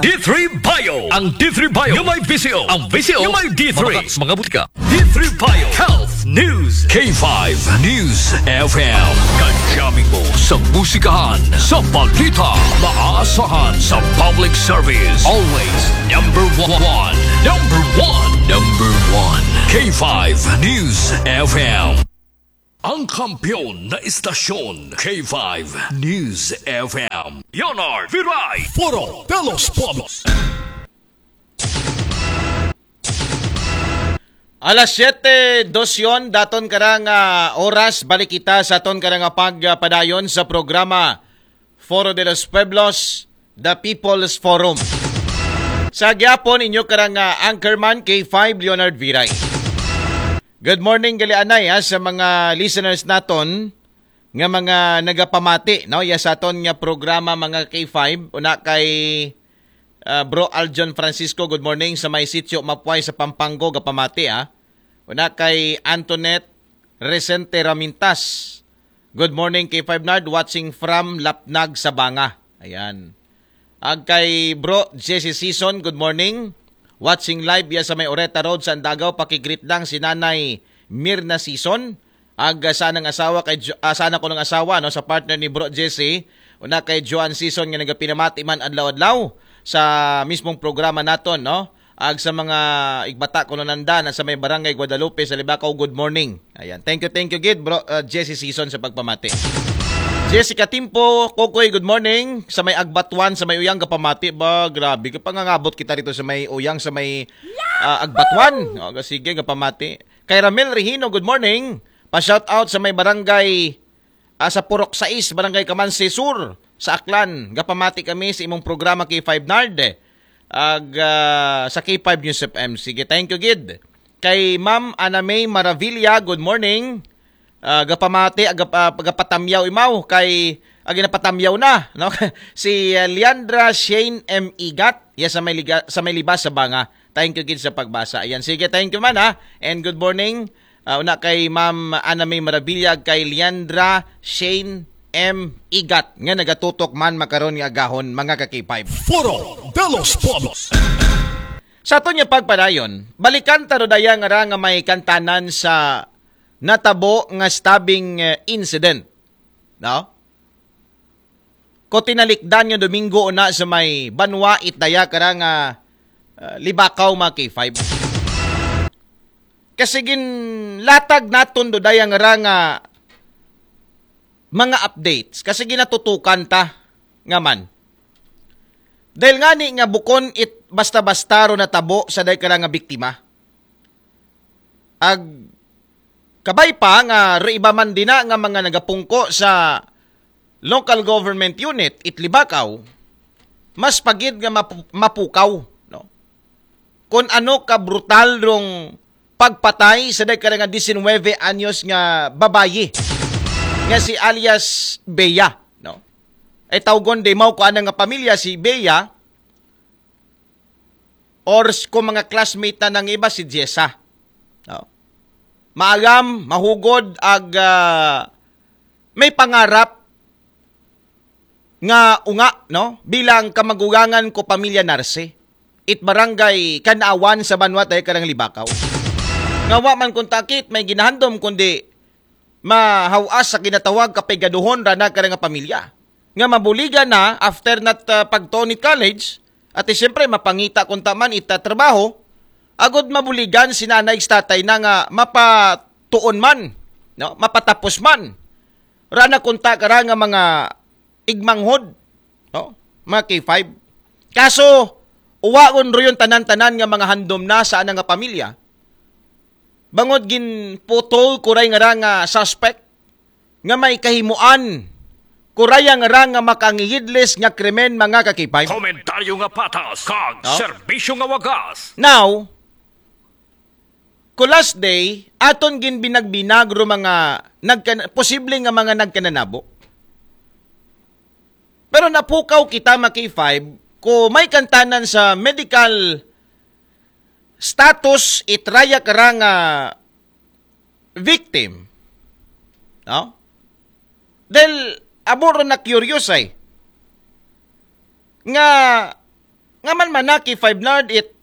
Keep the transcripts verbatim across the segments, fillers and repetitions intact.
D three Bio. Ang D three Bio yung may V C O. Ang V C O yung may D three. Mga, mga butika. D three Bio Health News. K five News F M. Kajaming mo sa musikahan, sa balita, maasahan sa public service. Always number one. Number one. Number one. K five News F M. Ang kampiyon na istasyon, K five News F M. Leonard Viray. Foro de los Pueblos. Alas siyete dos yon, daton karang ah, oras, balik kita sa aton karang ah, pagpadayon sa programa Foro de los Pueblos, The People's Forum. Sa gyapon, inyo karang ah, anchorman, K five Leonard Viray. Good morning, gali anay, ha, sa mga listeners naton nga mga nagapamati, no? Ya sa aton nga programa, mga K five, una kay ah, Bro Aljon Francisco, good morning, sa may Sitio Mapuay sa Pampanga, gapamati, ha. Una kay Antoinette Resente Ramintas. Good morning, K five Nard, watching from Lapnag, Sabanga. Ayan. Ag kay Bro Jesse Season, good morning. Watching live ya sa may Oreta Road sa Andagaw, pakigreet lang si Nanay Mirna Season. Ag ah, sa nang asawa kay Jo- ah, sana ko nang asawa, no, sa partner ni Bro Jesse, una kay Joan Season nga nagapinamati man adlaw-adlaw sa mismong programa naton, no. Ag sa mga igbata ko nanda na sa may Barangay Guadalupe sa Libacao, good morning. Ayan. Thank you, thank you gid, Bro ah, Jesse Season, sa pagpamati. Jessica Timpo, Kokoy, good morning. Sa may Agbatuan, sa may Uyang, gapamati ba? Grabe, kapangangabot kita rito sa may Uyang, sa may ah, Agbatuan. O, sige, gapamati. Kay Ramel Regino, good morning. Pa-shout out sa may barangay ah, sa Purok sais, Barangay Kamansi Sur, sa Aklan. Gapamati kami sa imong programa, K five Nard. Ag ah, sa K five News F M. Sige, thank you gid. Kay Ma'am Ana May Maravilla, good morning. Ah, gapamati, agap, ah, gapatamyaw imaw kay agi napatamyaw na, no? Si ah, Leandra Shane M Igat, ya sa may liga, sa may libas sa banga. Thank you gid sa pagbasa. Ayan, sige, thank you man, ha. And good morning. Ah, una kay Ma'am Ana May Marabilla, kay Leandra Shane M Igat nga nagatutok man makaron nga agahon, mga ka-K five. Foro de los Pueblos. Sa aton nga pagpadayon, balikan ta ro daya nga ra nga may kantanan sa natabo nga stabbing eh, incident. No? Ko tinalikdan nga Domingo una sa may banwa it daya kara nga ah, Libakaw, mga K five. Kasi ginlatag naton do daya nga ra nga mga updates. Kasi ginatutukan ta nga man. Dahil nga ni nga bukon it basta-basta ro natabo sa day kara nga biktima. Ag kabay pa nga ro iba man dina nga mga nagapungko sa local government unit it Libakaw, mas pagid nga mapu- mapukaw, no? Kung ano ka brutal rong pagpatay sa dagkara nga diecinueve anyos nga babayi nga si alias Bea, no? Ay tawgon di mao ko ana nga pamilya si Bea or s- kung mga classmate na nang iba si Jessa. No? Maagam, mahugod, ag ah, may pangarap nga unga, no? Bilang kamagugangan ko pamilya Narse, it barangay Kanawan sa Banwa tayo karang Libakaw. Nga wa man kung takit, may ginahandom kundi mahawas sa ginatawag kapigaduhon rana karang pamilya. Nga mabuligan na after nat uh, pagtuon it college, at siyempre mapangita kung taman ita trabaho, agod mabuligan si nanay ug tatay na nga mapatuon man, no? Mapatapos man. Rana kunta kara nga mga igmanghod, no? Mga K five. Kaso, uwaon ro yun tanan-tanan nga mga handom na sa ana nga pamilya. Bangod ginputol kuray nga ra nga suspect nga may kahimuan kuray nga ra nga makangihidlis nga krimen, mga ka-K five. Komentaryo nga patas kag No? serbisyo nga wagas. Now, ko last day, aton ginbinag-binag ro mga nagkan posible nga mga nagkananabo. Pero napukaw kita, mga K five, ko may kantanan sa medical status it raya kara nga victim. No? Dahil amo ro na curious ay nga Nga man man na K five Nard it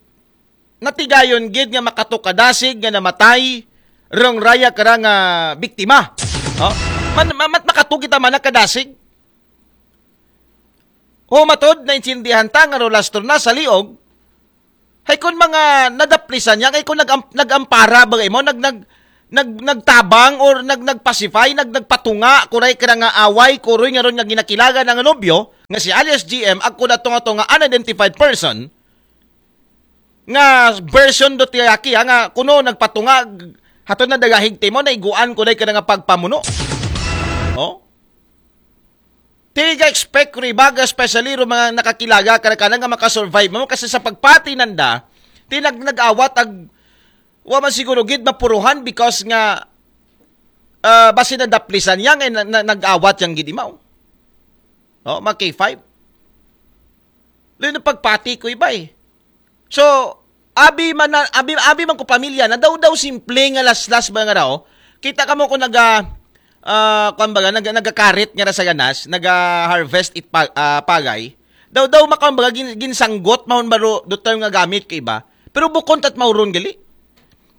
natigayon gid nga makatukadasig nga namatay rong raya kara nga biktima. Oh? Man, ma- mat makatukita man na kadasig. Ho matod na intindihan ta nga rolastro na sa liog. Hay kun mga nadaplisan niya, hay kun nag nagampara ba imo, nag nag nag nagtabang or nag nagpacify, nag nagpatunga, kuray kara nga away, kuroy nga ron nga ginakilaga nga nobyo nga si alias G M, ako na tunga-tunga unidentified person, nga version do tiyaki ha, nga kuno nagpatunga hatod na dagahig timo na iguan ko day ka nga pagpamuno. Oh? Tiga expect ko ibaga, especially ro mga nakakilaga ka na nga makasurvive mo kasi sa pagpati nanda tinag nag-awat ag wa man siguro gid mapuruhan because nga uh, basi na daplisan yang eh, na, na, nag-awat yang gid imaw. Oh, mga K five. Lino pagpati ko iba eh. So, abi man na, abi, abi man ko pamilya na daw daw simple nga laslas ba nga raw. Kita ka mo ko naga uh, kuan baga naga nagakarit nga ra sa ganas, naga harvest it pa, uh, pagay. Daw daw makaon baga gin, ginsanggot mahon baro do term nga gamit ko iba. Pero bukon tat mauron gali.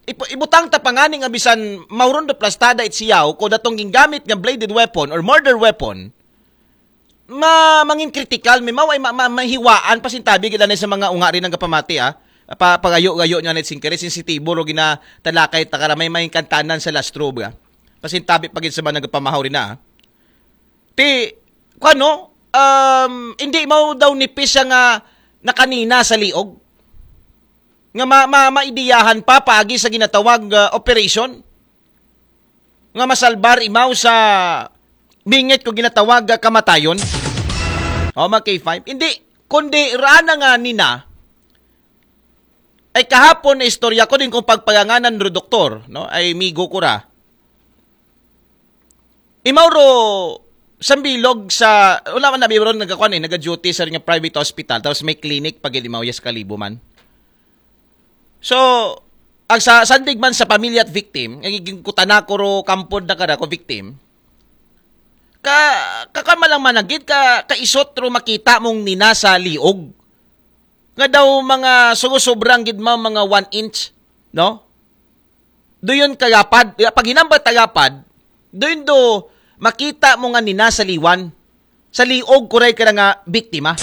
Ipu, ibutang ta pangani nga bisan mauron do plastada it siyaw ko datong gingamit nga bladed weapon or murder weapon. Ma mangin critical mi mao ay ma, ma, mahiwaan pasintabi gid anay sa mga unga rin ang kapamati ah. Pa, pagayo-gayo niya na singkere sensitibo ro ginatalakay ta karamay may kantanan sa lastro ba. Pasintabi pa gid sa mga nagapamahaw rin na. Ah. Ti kuno um hindi mao daw nipis siya nga nakanina sa liog. Nga ma, ma, maidiyahan pa paagi sa ginatawag uh, operation. Nga masalbar imaw sa bingit ko ginatawag kamatayon. O, mga K five. Hindi, kundi rana nga nina, ay kahapon na istorya ko din kung pagpaganganan ro doktor, no? Ay migo ko ra. Imaw ro sambilog sa, wala man nabi ron nagkakuan eh, nag-duty sa nga private hospital, tapos may clinic pag imaw yes kalibo man. So, ang sa sandig man sa pamilya at victim, ang iging kutana ko ro kampod na kada ko victim, ka, kakan malang managid, ka, kaisot ro makita mong nina sa liog. Nga daw mga sugo-sobrang gid ma mga one inch, no? Doon kagapad, pag hinambat tagapad, doon do makita mo nga nina sa liwan, sa liog kuray ka nga biktima.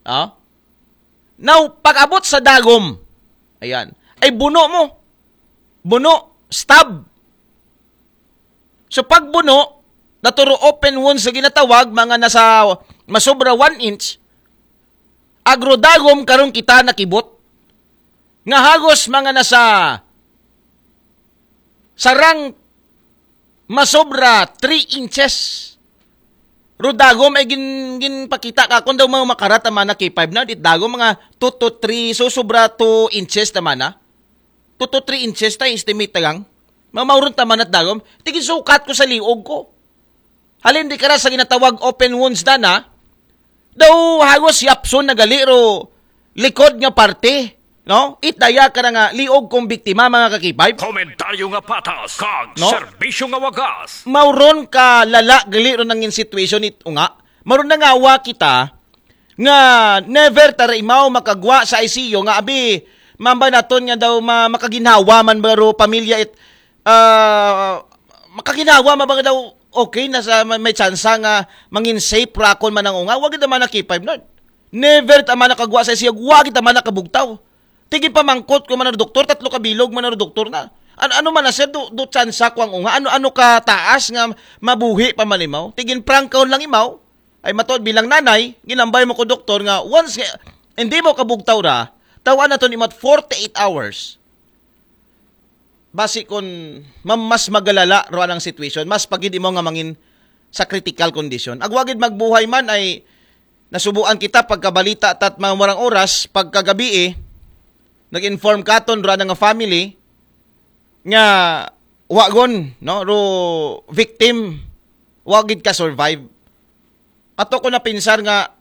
Oh? Now, pag-abot sa dagom, ayan, ay buno mo. Buno, stab. So pag buno, naturo open wounds sa ginatawag, mga nasa masobra one inch, agrodagom karong kita nakibot. Nga hagos mga nasa sarang masobra three inches. Ro dagom ay gin, ginpakita ka kung daw mga makarat ang mana K five na, dit dagom mga two to three, so sobra two inches naman na. Two to three inches tayo estimate tagang. Mamauron taman at dagom. Tigin sukat ko sa liog ko. Halin di kara sa ginatawag open wounds na na. Daw hagos yapson na gali ro likod nga parte. No? Itdaya ka na nga liog kong biktima, mga kakipay. Komentaryo nga patas, kag No? Serbisyo nga wagas. Mauron ka lala gali ro nangin situation it unga. Mauron na nga wa kita nga never tara imaw makagwa sa I C U nga abi mamba naton nga daw ma, makaginhawa man baro pamilya it ah, makaginhawa man ba nga daw okay na sa may, may tsansa nga mangin safe rakon man ang unga, wag naman na K five Nord. Never tama nakagwa sa siyag, wag tama nakabugtaw. Tigi pamangkot ko man ang doktor, tatlo ka bilog man ang doktor na. Ano, ano man na sir, do, do tsansa ko ang unga, ano, ano ka taas nga mabuhi pa man imaw? Tigin prangkaw lang imaw, ay matod bilang nanay, ginambay mo ko doktor nga once nga, hindi mo kabugtaw ra, tawan na to ni mat forty-eight hours. Basi kun ma- mas magalala ro ang situation, mas pagid imo nga mangin sa critical condition. Agwagid magbuhay man ay nasubuan kita pagkabalita tat mga murang oras pagkagabi eh, nag-inform katon ro nga family nga wagon no ro victim wagid ka survive. Ato ko napinsar nga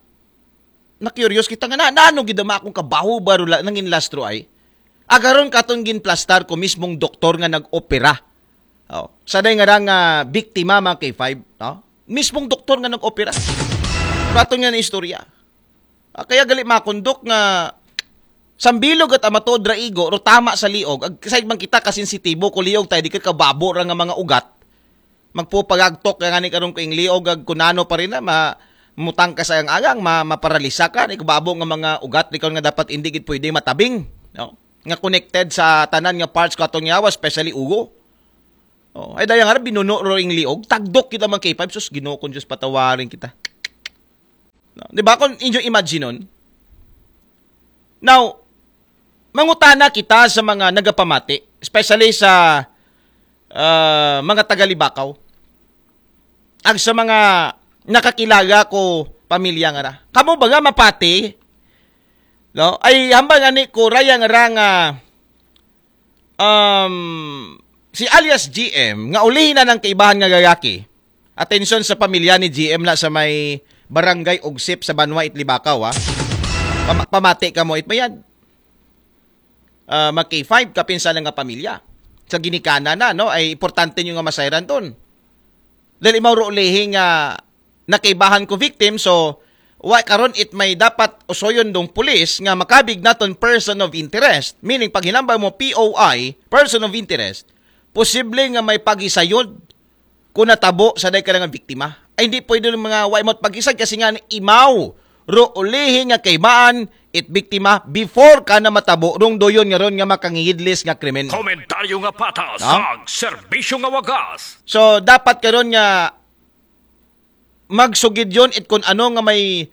na-curious kita nga na, naano gid ama akong kabaho ba rula nangin lastro ay? Agaron katon ginplastar ko mismong doktor nga nag-opera. Oh, sa day nga ra nga biktima mga K five, no? Mismong doktor nga nag-opera. Katon nga na istorya. Ah, kaya gali makundok nga sambilog at amatuod ra igo, ro tama sa liog. Ag, kasay man kita kasensitibo ko liog tayo, di ka kababo ra nga mga ugat. Magpupagagtok ka nga ni karon ko ing liog, ag kunano pa rin na, ma, mutang ka sa ang agang, ma, maparalisa ka, ni kababo nga mga ugat, di ka nga dapat hindi gid pwede matabing. No? Nga connected sa tanan nga parts ko atong yawa, especially ugo. Oh, ay daya nga binuno ro ing liog, tagdok kita mga K five, sus Ginoo kong Diyos, patawarin kita. No? Di ba? Kung inyo imagine nun. Now, mangutana kita sa mga nagapamati, especially sa ah, mga taga-Libakaw, ag sa mga nakakilala ko pamilya nga ra. Kamo ba nga mapati? No? Ay hambal nga ni ko raya nga ra nga, um, si alias G M nga ulihin na ng kaibahan nga lalaki. Atensyon sa pamilya ni G M na sa may barangay Ugsip sa Banwa, Itlibakaw, ha? Pama- pamati ka mo, it mayad. Ah, mag K five, kapinsan nga pamilya. Sa ginikanan na, no? Ay importante nyo nga masayran ton. Dahil imaw ro ulihi nga nakaibahan ko victim, so, wa karon it may dapat usoyon dong pulis nga makabig naton person of interest. Meaning, pag hinambal mo P O I, person of interest, posible nga may pagisayod kung natabo sa day ka nga biktima. Ay, hindi pwede ng mga wa imot pagisag kasi nga imaw ro ulihi nga kaibahan it biktima before ka na matabo rong doyon nga ron nga makangihidlis nga krimen. Komentaryo nga patas, no? Ag serbisyo nga wagas. So, dapat karon nga magsugid yon it kung ano nga may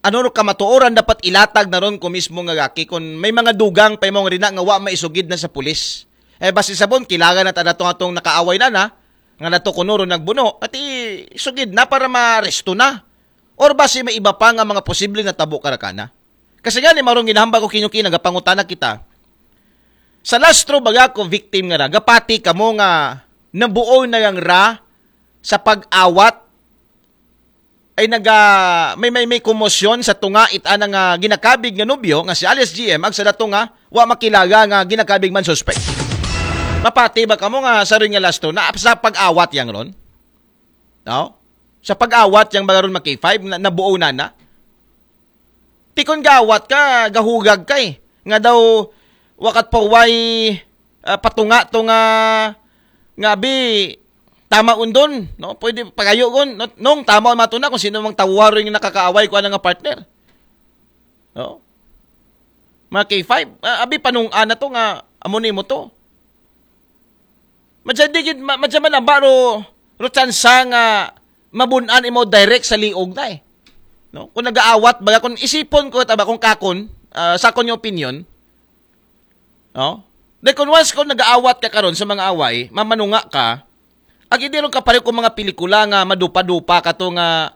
ano ro kamatuoran dapat ilatag na ron ko mismo nga gaki kung may mga dugang pa imong rina nga wa maisugid na sa pulis. Eh, basi sabon, kilala na ta na tong atong nakaaway na na, nga nato kuno ro nagbuno, pati sugid na para maresto na. Or basi may iba pa nga mga posible na tabo karakana. Kasi nga ni marong ginahambal ko kinyo kinagapangutana kita. Sa lastro baga ko victim nga ra, gapati kamo nga nabuo na yang ra sa pag-awat ay naga may may may komosyon sa tunga it ana nga ginakabig nga nobyo nga si alias G M ag sa dato nga wa makilala nga ginakabig man suspect. Mapati ba kamo nga sa ring nga lastro na sa pag-awat yang ron? No? Sa pag-awat yang bagaron mag K five na nabuo na na. Tikon gawat ka, gahugag ka eh. Nga daw wakat pa way ah, patunga to nga nga bi tama undon, no? Pwede pagayo gon, no? Nung tama mato na kung sino mang tawaro yung nakakaaway ko nga partner. No? Mga K five, ah, abi panung ana to nga amo ni mo to. Madya di gid ma- madya man ang baro ro tsansa nga mabunan imo direct sa liog na eh. No? Kung nagaawat baga kung isipon ko taba kung kakon ah, sa akon yung opinion, no? Dahil kung once kung nagaawat ka karon sa mga away, mamanunga ka, ag hindi ron ka pareho kung mga pelikula nga madupa-dupa ka to nga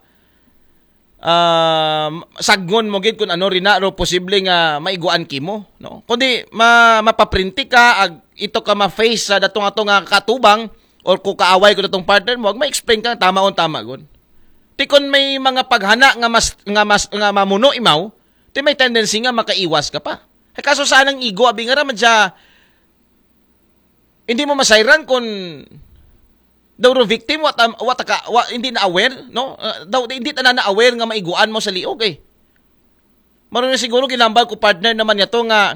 ah, saggon mo gid kung ano rin na ro posible nga maiguan kimo, no? Kundi ma mapaprinti ka ag ito ka ma-face sa datong ato nga katubang or kung kaaway ko datong partner mo, ag ma-explain ka tama on tama gon. Ti kon may mga paghana nga mas nga mas nga mamuno imaw, ti may tendency nga makaiwas ka pa. Ay kaso sa anang igo abi nga ra man siya, hindi mo masayran kung daw ro victim wa ta, wa ta ka, wa, hindi na aware, no? Ah, daw hindi ta na aware nga maiguan mo sa liog eh. Maroon na siguro ginambal ko partner naman niya to nga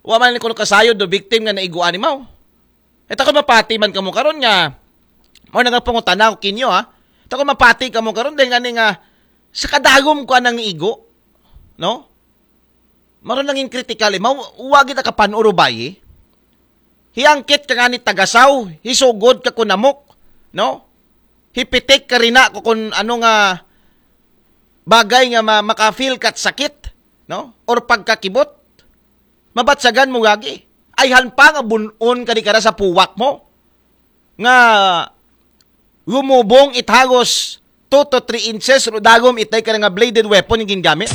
wa man ko kasayod do victim nga naiguan ni mao. Eta ko mapati man kamo karon nga mo na nga pangutana ko kinyo ha. Eta ko mapati kamo karon dahil nga ni nga sa kadagom ko anang igo, no? Maron nangin kritikal eh. Mau wagi ta kapan urubay eh. Hiangkit ka nga ni tagasaw, hisugod ka kunamok, no? Hipitik ka rina ko kung ano nga bagay nga ma- makafeel kat sakit, no? Or pagkakibot. Mabatsagan mo gagi. Ayhan pa nga bunon ka di kara sa puwak mo. Nga gumubong it hagos two to three inches ro dagom itay ka nga bladed weapon yung gingamit.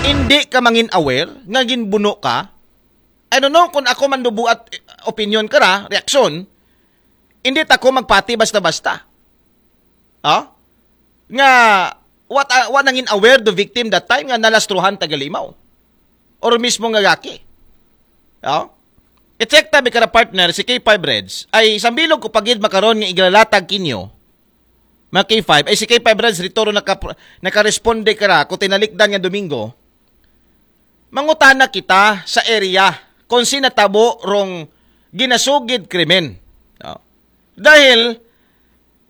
Hindi ka mangin aware nga ginbuno ka. I don't know kung ako man dubuat eh, opinion ka ra, reaksyon. Hindi ta ko magpati basta-basta. Ha? Nga what uh, what nangin aware the victim that time nga nalastruhan tagalimaw. Or mismo nga gaki. Ha? I-check tabi ka partner si K five Reds ay sambilog ko pagid makaron nga iglalatag kinyo. Mga K five, ay si K five Reds, dito ro naka, nakaresponde ka ra, kung tinalikdan nga Domingo, mangutana kita sa area kung si natabo rong ginasugid krimen. No? Dahil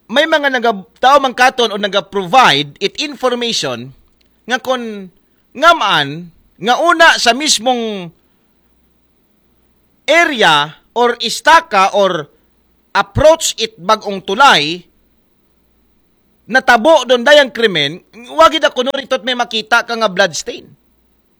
may mga naga, tao man katon o naga-provide it information nga kon ngaman nga una sa mismong area or istaka or approach it bagong tulay, natabo doon dayang krimen, wagi da kuno rito may makita ka nga bloodstain.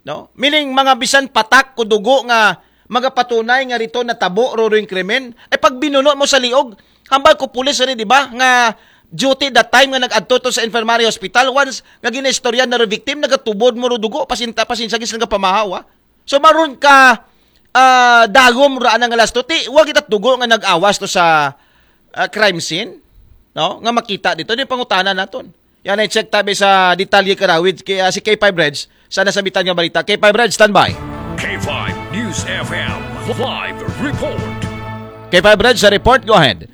No? Meaning, mga bisan patak ko dugo nga magapatunay nga rito natabo ro rin krimen, ay pag binuno mo sa liog, hambal ko pulis rin, di ba, nga duty that time nga nag-adto to sa infirmary hospital, once nga ginaistorya na ro victim, nagatubod mo ro dugo, pasinta, pasinsa gis nga pamahaw, ah. So, maroon ka, ah, dagom ra nga lasto, ti, wa kita dugo nga nag-awas to sa, ah, crime scene, no? Nga makita dito, di pangutana naton. Yan ay check tabi sa detalye karawid kay, ah, si K five Reds sa nasabitan nga balita. K five Reds, standby. K five News F M live report. K five Reds sa report, go ahead.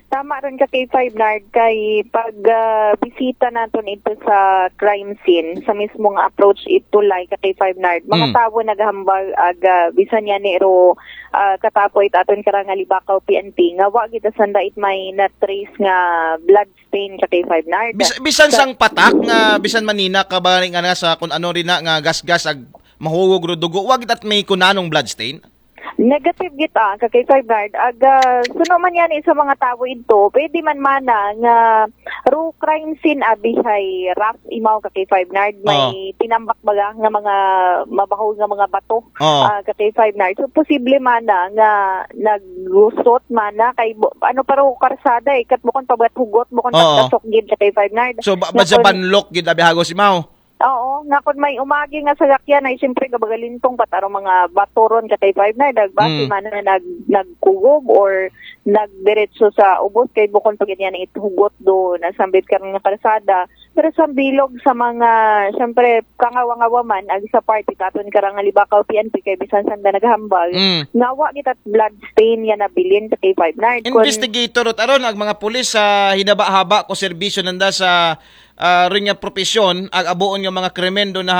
Tama rin ka K five Nard kay pag ah, bisita naton ito sa crime scene sa mismong approach ito lay ka K five Nard mga Mm. tawo naghambal ag ah, bisan yan ni ro ah, katapo it aton karang Halibakaw P N P nga wa kita sanda it may na-trace nga blood stain ka K five Nard. Bis, bisan sang patak nga bisan manina ka ba nga na sa kung ano rin na nga gasgas ag mahugog ro dugo, wag itat may kunanong bloodstain. Negative git ah, ka K five Nard. Aga, suno man yan sa mga tawo ito, pwede man mana nga ro crime scene abi hay rough imaw ka K five Nard. May tinambak baga nga mga mabaho nga mga bato Oo. ah, ka K five Nard. So, posible mana nga naggusot mana kay bu- ano pa ro karsada eh. Kat bukon pabat hugot, bukon Oo. pagkasok gid ka K five Nard. So, ba, Nga ba sa kun- banlok gid abi hagos imaw. Oo, nga kun may umagi nga sagakyan ay siyempre gabagalintong pataro mga bato ron ka K five Nard. Agbase Mm. mana na nag, nagkugob or nagdiretso sa ubos kay bukon pag yan itugot do nasambit ka nga kalsada. Pero sa bilog sa mga, siyempre, kangawa-ngawa man, ag sa party katon karang Halibakaw P N P kay bisan sanda naghambal, Mm. nga wa kita blood stain yan nabilin sa K five Nard. Kun- Investigator ot aron ang mga pulis sa hinaba-haba ko serbisyo nanda sa ah, rin nga propesyon ag abuon nga mga krimen do na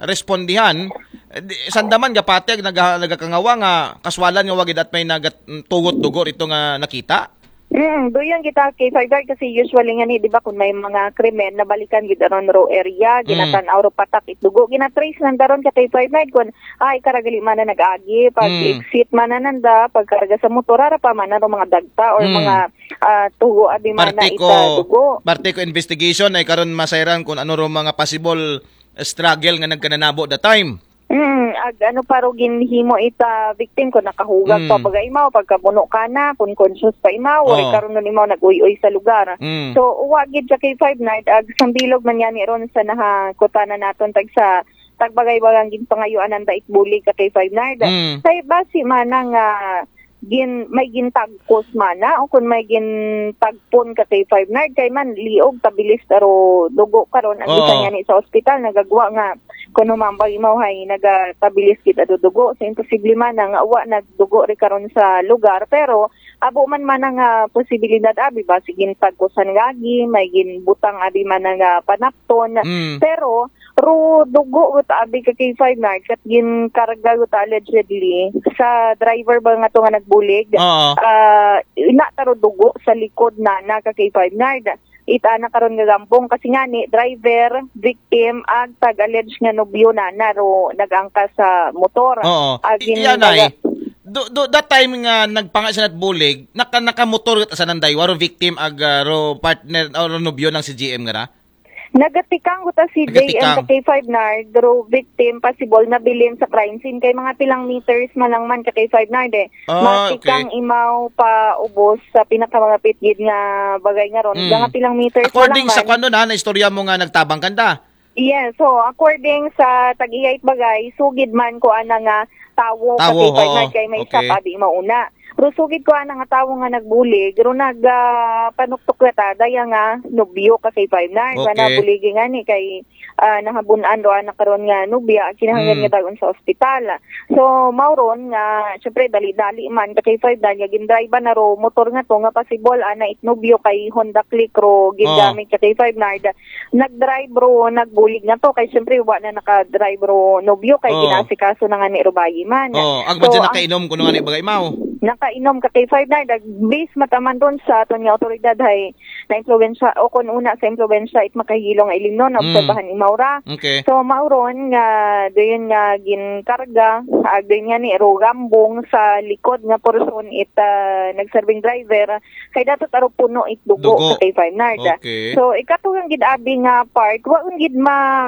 respondihan. Eh, di- sandaman gapati ag naga, nagakangawa nga kaswalan nga wagid at may nagatugot dugo rito nga nakita. Mm, doon kita K five Nard kasi usually nga ni, di ba, kung may mga krimen, nabalikan gid aron ro area, Mm. ginatan-aw ro patak it dugo, ginatrace nanda ron ka K five Nard kun ay karagali man na nag-agi, pag Mm. exit man na nanda, pagkarga sa motor, ara pa man na ro mga dagta or Mm. mga ah, tugo abi man na Parte ita ko, dugo. parte ko investigation ay karon masayran kung ano ro mga possible struggle nga nagkananabo the time. Mm, ag ano pa ro ginhimo ita victim ko nakahugas Mm. pa baga imaw pagkabuno ka na kun conscious pa imaw Oo. or karon nun imaw nag-uy-uy sa lugar. Mm. So uwa gid sa K five Nard ag sambilog man yani ron sa nahakutana naton tag sa tagbagay-bagang ginpangayuan ang dait bulig ka K five Nard. Mm. Kay basi man nga gin may gintagkos mana o kun may gintagpon ka K five Nard kay man liog tabilis taro dugo karon ang Oo. bisan nga ni sa ospital nagagwa nga kuno mambag imaw hay nagatabilis kita do dugo so imposible man nga wa nagdugo ri karon sa lugar pero abo man man nga posibilidad abi ba sige tagkosan gagi may ginbutang abi man nga panapton Mm. pero ro dugo guta abi ka K five Nard kat ginkarga guta allegedly sa driver ba nga to nga nagbulig. Oo. Ah, ina taro dugo sa likod na na ka K five Nard. Ita na karon nga gambong kasi nga ni driver, victim ag tag alleged nga nobyo na na ro nagangka sa motor. Oo. Ag I- gin- Iyan ay. Do, do, that time nga nagpanga siya nat bulig, naka, nakamotor sa nanday, waro victim ag ah, ro partner o ro nobyo ng si G M nga ra? Nagatikang guta si J M Nagatikang. sa K five Nard, ro victim possible na bilin sa crime scene kay mga pilang meters man lang man ka K five Nard eh. Ah, Matikang okay. Imaw pa ubos sa pinakamalapit gid nga bagay nga ron. Mm. Mga pilang meters According man lang sa man. Kwando na, na istorya mo nga nagtabang kanda. Yes, so according sa tag-iyait bagay, sugid man ko ana nga tawo, Tawo, ka K five oo. Nard kay may Okay. isa pa di mauna. Pero sugid ko ana nga tawo nga nagbulig, pero nag ah, panuktok na ta, daya nga nobyo ka kay Five Nard. Nga Okay. nabuligi nga ni kay ah, nahabun-an ro ana karon nga nobya, kinahanglan Mm. nga dagon sa ospital. So, mao ron nga, syempre, dali-dali man, ka kay Five Nard, nga gindrive na ro, motor nga to, nga possible, ana it nobyo kay Honda Click ro, Oh. gingamit ka kay Five Nard. Nag-drive ro, nagbulig na to, kay syempre, wa na naka-drive ro, nobyo, kay Oh. ginasikaso na nga ni ro bayi man. Oh, agmad So, siya ang nakainom kuno nga ni bagay mao. Nakainom ka kay Five Nard, nag-base mataman ron sa aton nga otoridad hay na impluwensya o kun una sa impluwensya it makahilo nga ilimnon na Mm. obserbahan imaw ra. Okay. So, mao ron nga dayon nga ginkarga, ag dayon nga ni ro gambong sa likod nga porson it ah, nagserbing driver, kay dapat aro puno it dugo Dugo. Ka kay Five Nard. Okay. So, ikatugang gid abi nga part, wa gid ma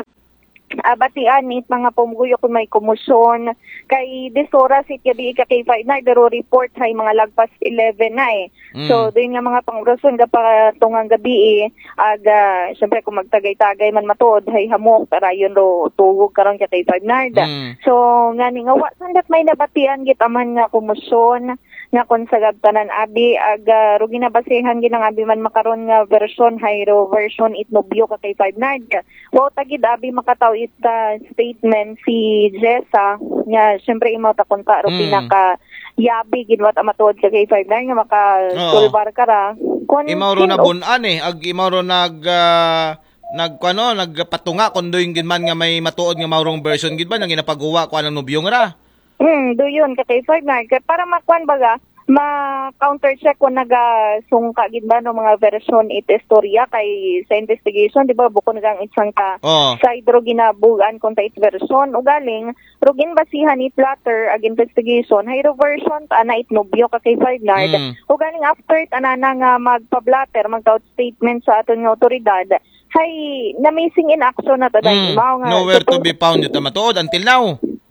ah, batian it mga pumguyo kung may komosyon. Kay dis oras it gabi ka kay Five Nard, pero report hay mga lagpas eleven na eh. Mm. So, doon nga mga pang-orason ka pa tungang gabi eh, aga, syempre kung magtagay-tagay man matuod, hay hamok, tarayon ro tugog karon ka kay Five Nard. Mm. So, nga ni nga wa sandat may nabatian gitaman nga komosyon, nga kon sa gabtanan abi, aga, ro ginabasihan ginang abi man makaron nga version, hay ro version it nobyo ka kay Five Nard. Wa ta gid abi makataw it ah, statement si Jessa nga syempre imaw ta kunta ro Mm. pinaka yabi gid wa ta matuod ka kay Five Nine nga maka Oo. Sulbar ka ra. Kun Imaw ro sin- nabun-an eh. Ag imaw ro nag ah, nag ano, nagpatunga kun doy gid man nga may matuod nga mawrong version gid ba nga ginapaguwa ko anang nubyong ra. Hmm, do yun ka kay Five Nine. Kay para makuan baga, ma-counter check kung nagasungka gid ba no mga version it istorya kay sa investigation, di ba, bukod nagang isang ka Oo. side ro ginabugan kung ta it version. Ugaling, ro ginbasihan it latter ag investigation, hay ro version ta na it nobyo ka kay Five Nard. Mm. Ugaling after ta na na nga magpa-blotter, magtaod statement sa aton nga otoridad, hay na missing in action na ta dahil Mm. imaw nga Nowhere to supposed be found yun, matuod until now.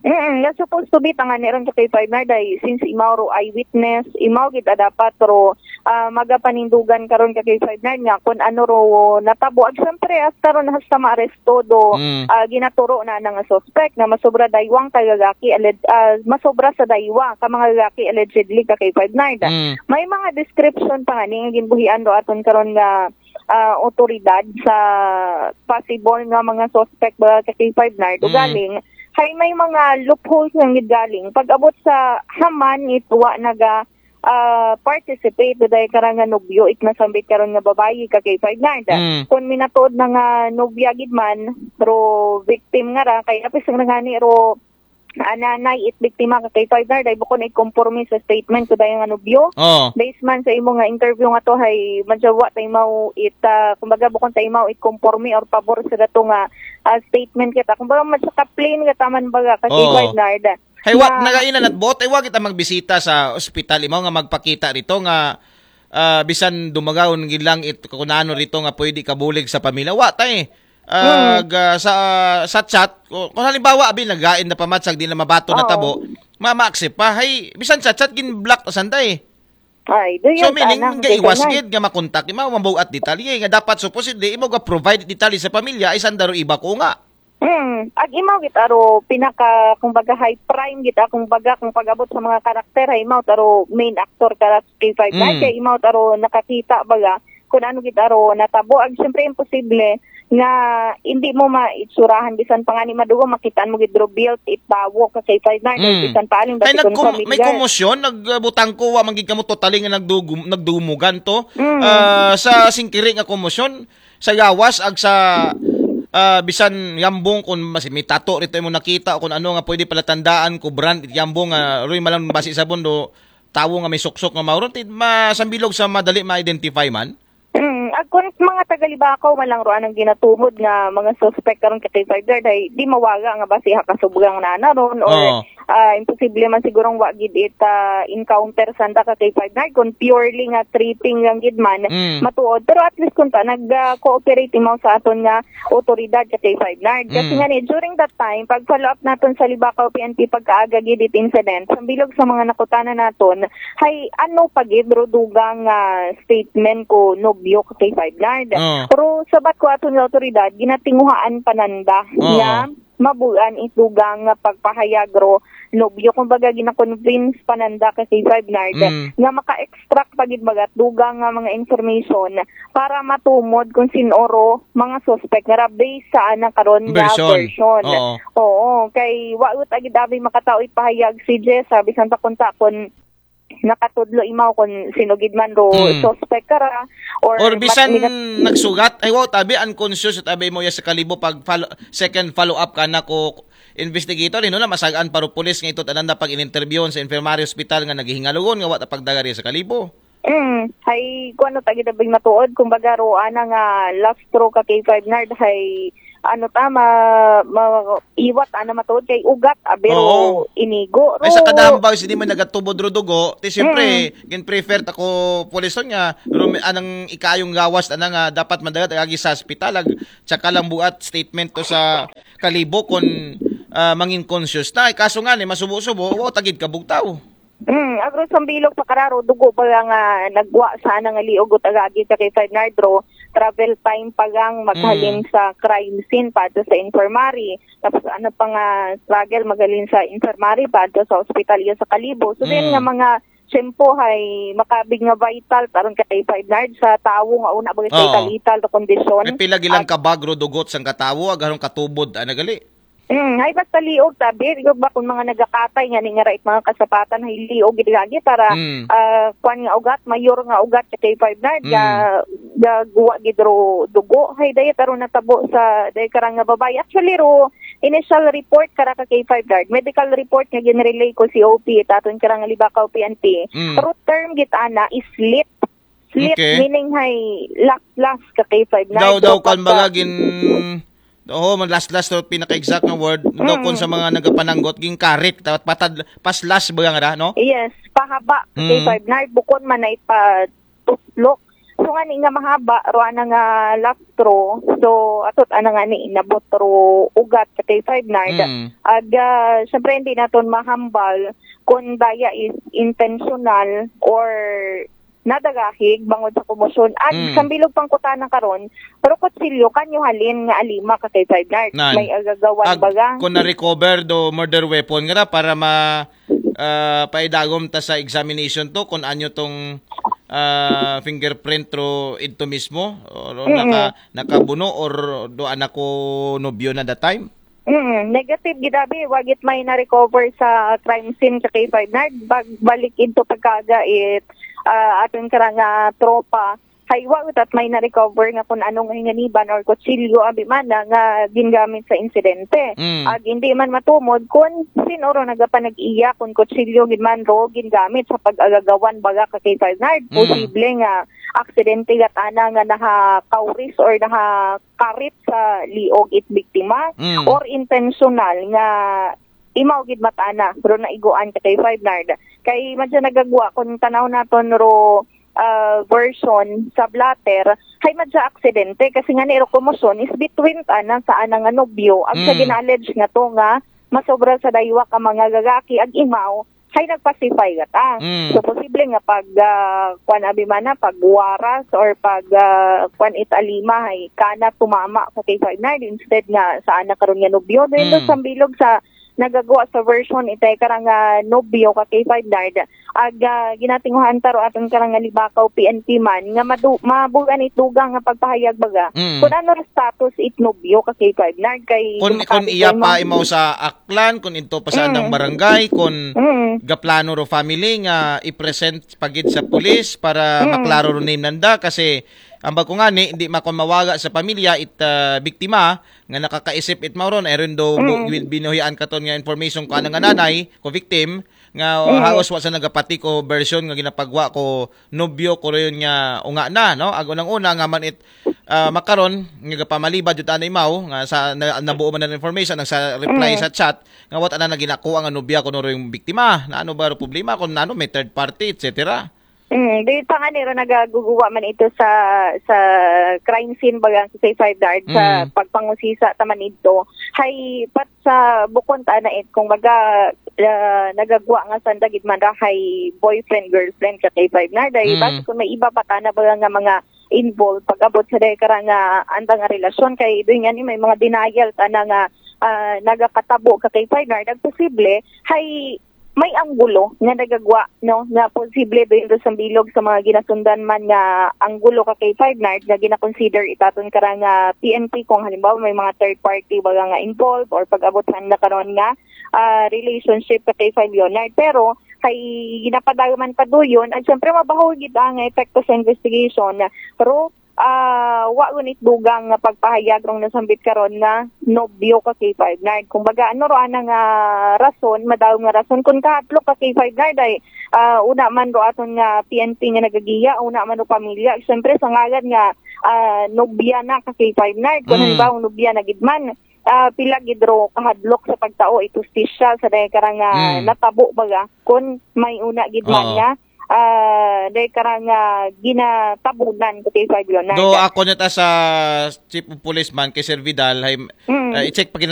Mm, nga supposed to be tangani ron sa kay Five Nard ay since imaw ro eyewitness, imaw gid a dapat ro ah, magapanindugan karon ka kay Five Nard nga kung ano ro natabo. Ag syempre hasta ron hasta maaresto do Mm. ah, ginaturo na na nga suspect na masobra daywang ka gagaki alleged ah, masobra sa daywa ka mga gagaki allegedly ka kay Five Nard. Mm. May mga description pa nga ni nga ginbuhian do aton karon nga ah, otoridad sa possible nga mga suspect ba ka kay Five Nard. Mm. Ugaling, hay may mga loopholes nga gid galing. Pag-abot sa haman it wa naga ah, participate do dahil karang nga nobyo it nasambit karon nga babayi ka kay Five Nard. Mm. Kung minatuod na nga nobya gid man, ro victim nga ra, kay apis nga ngani ro ah, nanay it biktima ka kay Five Nard, ay bukon it konporme sa statement ko dahil nga nobyo. Oh. Based man sa imo nga interview nga to, hay madyawa ta imaw it, ah, kumbaga bukon ta imaw it konporme or pabor sa dato nga ah, statement kita. Kumbaga, mas ka plain ka taman baga ka kay Oo. Five Nard. Hay wa, Na- nagaina nat bot, ay wa kita magbisita sa ospital, imaw nga magpakita rito nga ah, bisan dumagaw gid lang it kunano rito nga pwede kabulig sa pamilya. Wa tay. Ah, Hmm. ga- sa sa chat, kung, kung halimbawa abi nagain na pamatsag di na mabato na Oo. tabo, ma ma-accept pa. Hay bisan sa chat gin-block ta sanda eh. Ay, do So yun, meaning tanang, gaiwas dito na. gid nga makontak imaw mambugat detalye nga dapat supposedly imo ga provide detalye sa pamilya ay sanda ro iba ko nga. Hmm, ag imaw gid aro pinaka kumbaga high prime gid akong baga kung pag-abot sa mga karakter hay imaw taro main actor ka K five Mm. Kay imaw taro nakakita baga kung ano gid aro natabo. Ag syempre imposible nga hindi mo maitsurahan bisan pa nga ni madugo makitaan mo gid ro built it bawo ka K five na Mm. bisan pa aling Kay bati kung nagkum- may familiar. Komosyon, nagbutang ko, wa man gid kamo totally nga nagdugum- nagdumugan to. Mm. Ah, sa singkiri nga komosyon, sa gawas ag sa ah, bisan yambong kung mas may tato rito imo nakita o kung ano nga pwede pala tandaan ko brand it yambong nga roy malang basi sa bundo tawo nga may suksok nga mauron ti masambilog sa madali ma-identify man. Mm, ag kun mga taga Libacao man lang roan ang ginatumod nga mga suspect karon ka K five Guard ay di mawaga nga basi ha kasubugang nana ron or Oo. ah, imposible man sigurong wa gid it ah, encounter sanda ka K five Nard kun purely nga tripping lang gid man Mm. matuod. Pero at least kun ta nag-cooperate imaw sa aton nga otoridad ka K five Nard. Kasi Mm. nga ni during that time pag follow up naton sa Libacao P N P pagkaaga gid it incident, sambilog sa mga nakutana naton, hay ano pa gid ro dugang ah, statement ko nobyo ka K five Nard. Oo. Pero sabat ko aton nga otoridad, ginatinguhaan pananda Oo. nga mabuan it dugang nga pagpahayag ro nobyo. Kumbaga, gina-convince pa nanda ka K five Nard Mm. nga maka-extract pa gid baga dugang nga mga information para matumod kung sin-o ro mga suspect nga ra based sa anang karon nga Version. version. Oo. Oo, kay wa ut agid abi makatao ipahayag si Jess, sabi sa kunta kun nakatudlo imaw kun sino gid man ro Mm. suspect ka ra or Or mat- bisan mina- nagsugat, ay wow, tabi unconscious at abi mo ya sa kalibo pag follow, second follow up ka na ko investigator, ino na masagaan paro pulis nga ito tanan na pag in-interview sa infirmary hospital nga naghihingalugon nga wa ta pagdagari sa kalibo. Mm, hay kuan ta gid abing matuod, kumbaga ro ana nga last straw ka K five Nard, hay ano ta ma, ma iwat ana matuod kay ugat abiro Oo. inigo ro. Ay sa kadahambag sini man nagatubod ro dugo, ti siyempre Mm. gin-prefer ta ko pulis ron nga rumi, anang ikayong gawas ana nga dapat madagat agi sa ospital ag tsaka lang buat statement to sa kalibo kon ah, mangin conscious na. Ay, kaso nga ni masubo-subo, wa tagid kabugtaw. Mm, agro sambilog pa kararo dugo pa nga nagwa sa ana nga liog ug agagi ka K five Nard ro, travel time pa lang maghalin Mm. sa crime scene pa sa infirmary. Tapos ano pa nga struggle maghalin sa infirmary pa sa ospital iya sa kalibo. So then Mm. nga mga tiyempo hay makabig nga vital taron ka K five Nard sa tawo nga una ba Oo. sa ital-ital to kondisyon. May pila gilang Ag- kabagro dugot sang katawo agarong katubod ana gali. Mm, ay basta liog tabi, di ba kung mga nagakatay nga ni nga right mga kasapatan hay liog gid lagi para Mm. ah, kwan nga ugat, mayor nga ugat sa K five Nard, Mm. ga, ga guwa gid ro dugo. Hay dayat aro natabo sa day karang nga babay. Actually ro, initial report kara ka K five Nard, medical report nga ginrelay ko C O P, taton karang Libacao P N P. Mm. Ro term gid ana is slit. Slit Okay. meaning hay last last ka K five Nard. Daw, daw, Ro kan pagka- baga gin-, oo, man last last to pinaka-exact nga word. Daw Mm. kun sa mga nagapananggot, ginkarit, dapat patad, paslas baga nga ra, no? Yes, pahaba Mm. K five Nard, bukon man ay pa tuslok. So nga ni nga mahaba, ro ana nga last straw. So, atot ana nga ni nabot ro ugat sa K five Nard. Mm. Ag, ah, syempre, hindi naton mahambal kung daya is intentional or nadagahig bangod sa komosyon. Ag, Mm. sambilog pangkutana karon, pero kutsilyo, kanyo halin nga alima ka K five Nard. Nan. May agagawan Ag, baga. Kung na-recover do murder weapon nga ra para ma, ah, paidagom ta sa examination to kung anyo tong, ah, fingerprint ro idto mismo, o, o Mm-mm. naka-, nakabuno or do anak ko nobyo na that time? Mm, negative gid abi, wa gid may na-recover sa crime scene sa K five Nard. Bag-, balik into pagkaga it, ah, aton karang nga tropa. Hay wa gid at may na-recover nga kung anong hinganiban or kutsilyo abi man na nga gingamit sa insidente. Mm. Ag hindi man matumod kung sin-o ro nagapanag-iya kung kutsilyo gid man ro gingamit sa pag-agagawan baga ka K five Nard. Mm. Posible nga aksidente gat ana nga nahakauris or nahakarit sa liog it biktima Mm. or intentional nga imaw gid matana ro naiguan ka K five Nard. Kay madya nagagwa kung tanaw naton ro ah, version sa blotter, hay madya aksidente kasi nga ni ro komosyon is between ana sa ana nga nobyo ag sa Mm. gina-allege nga to nga masobra sa daywa ka mga gagaki ag imaw hay nagpasify gata. Mm. So posible nga pag ah, kwan abi man na, pag waras or pag ah, kwan it alima hay kana tumama sa K five Nard instead nga sa ana karon nga nobyo. Then Mm. sambilog sa nagagwa sa version itay karang ah, nobyo ka K five Nard. Ag ah, ginatinguhan ta ro aton karang nga Libacao P N P man nga madu- mabugan it dugang nga pagpahayag baga Mm. kung ano ro status it nobyo ka K five Nard kay Kung, kung makabig iya kay pa ma'am. imaw sa Aklan, kung ito pa sa Mm. andang barangay, kung Mm. gaplano ro family nga i-present pagid sa pulis para Mm. maklaro ro name nanda kasi ang bagko nga ni, hindi makon mawaga sa pamilya it ah, biktima nga nakakaisip it mauron, ay rin do bu- Mm. bin- binuhian katon nga information ko anang nanay ko victim nga Mm. halos wa sa nagapati ko version nga ginapagwa ko nobyo ko rin nga unga na, no? Ag unang-una nga man it ah, makaron nga gapamalibad jud ana imaw nga sa na, nabuo man ang information ang sa reply Mm. sa chat nga wa ta na naginakuha nga nobya kuno ro yung biktima na ano ba ro problema kung ano may third party, et cetera. Mm, di pa nga niro nagaguguwa man ito sa sa crime scene baga sa K five Nard sa Mm. pagpangusisa taman ito. Hay pat sa bukon ta na it kung baga ah, nagagwa nga sanda gid man ra hay boyfriend girlfriend ka K five Nard. Ay Mm. basi kung may iba pa ta na baga nga mga involved pag-abot sa dahil karang ah, anda nga relasyon kay doon nga ni may mga denial ta na nga ah, nagakatabo ka K five Nard, ag posible, hay may anggulo nga nagagwa, no, nga posible doon sa bilog sa mga ginasundan man nga anggulo ka K five Nard nga ginakonsider itaton karang ah, P N P kung halimbawa may mga third party baga nga involved or pag-abot na karon nga ah, relationship ka K five Leonard. Pero kay ginapadayo man pa doon, at syempre mabaho gid ang epekto sa investigation. Pero ah, wa gunit dugang nga pagpahayag rong nasambit karon nga nobyo ka K five Nard. Kumbaga, ano ro ana nga rason, madaw nga rason kung kahadlok ka K five Nard ay ah, una man ro aton nga P N P nga nagagiya, una man ro pamilya. Siyempre, sa ngalan nga ah, nobya na ka K five Nard, kung Mm. halimbawa nobya na gid man, ah, pila gid ro kahadlok sa pagtao itustisya sa dahil karang ah, Mm. natabo baga kung may una gid man Oo. nga ah, dahil karang ah, ginatabunan ka K five Leonard. Do ako nito sa chief of police man kay Sir Vidal, hay, Mm. ah, i-check pa gid